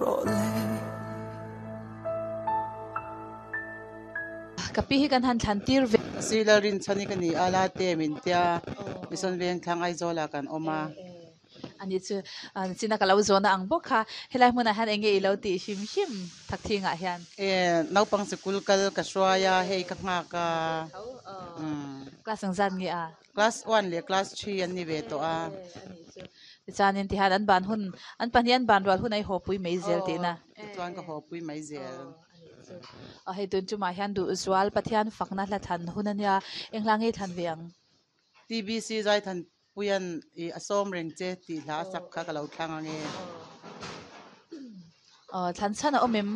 rawh le. Ka pi hi kan han thlan tir ve. Sir Lalrinchhani ka ni a, Late min tia Mission Vengthlang Aizawlah kan awm a. Ani chu china ka lo zawhna ang bawk kha helai hmunah hian enge i lo tih hrim hrim Thakthingah hian? E, naupang sikul kal ka hruai a, hei ka nghak a. Class engzat nge a? Class one leh class three an ni ve tawh a. Tichuanin tihian an ban hun, an pahnih an ban rual hun a i hawpui mai zel tihna. Tichuan ka hawpui mai zel. Hei tun chumah hian duhzual Pathian fakna hla thlan hun a nia, eng hla nge i thlan ve ang? TBC Zaithan Puian i a sawm reng che tih hla a sak kha ka lo thlang ange. Aw thlan chhan a awm em?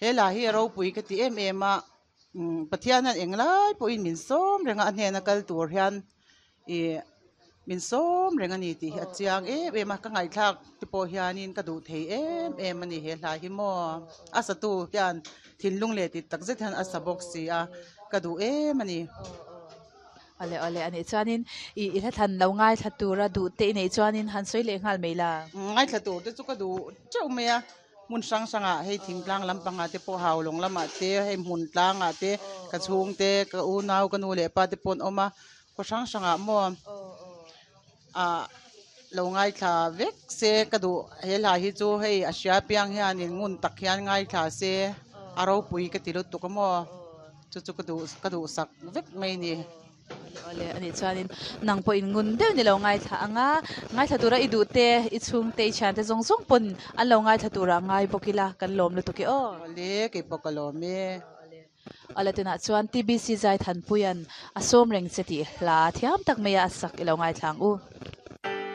He hla hi a ropui ka ti em em a, Pathian hian englai pawhin min sawm reng a, a hnena kal tur hian i min sawm reng a ni tih hi a chiang em em a, ka ngaihthlak te pawh hianin ka duh thei em em a ni he hla hi maw. A satu hian thinlung leh tih takzet hian a sa bawk si a, ka duh em a ni. Awle awle anih chuanin i i hla thlan lo ngaithla tura duh te i neih chuanin han sawi leh nghal mai la. Ngaithla tur te chu ka duh teuh mai a, hmun hrang hrangah hei thingtlang lampangah te pawh haulawng lamah te hei hmun tlangah te ka chhung te ka unau ka nu leh pa te pawh an awm a, khaw hrang hrangah maw ah lo ngaithla vek se ka duh he hla hi chu hei a hria piang hianin ngun tak hian ngaithla se a ropui ka ti lutuk a maw. Chu chu ka duh ka duhsak vek mai ni. Awle anih chuanin nang pawh in ngun deuh ni lo ngaithla ang a, ngaithla tura i duh te, i chhungte, i thiante zawng zawng pawn an lo ngaithla tura ngai bawk ila kan lawm lutuk e aw. Awle kei pawh ka lawm e. Awle tunah chuan TBC Zaithanpuia'n a sawm reng che tih hla thiam tak maia a sak i lo ngaithla ang u.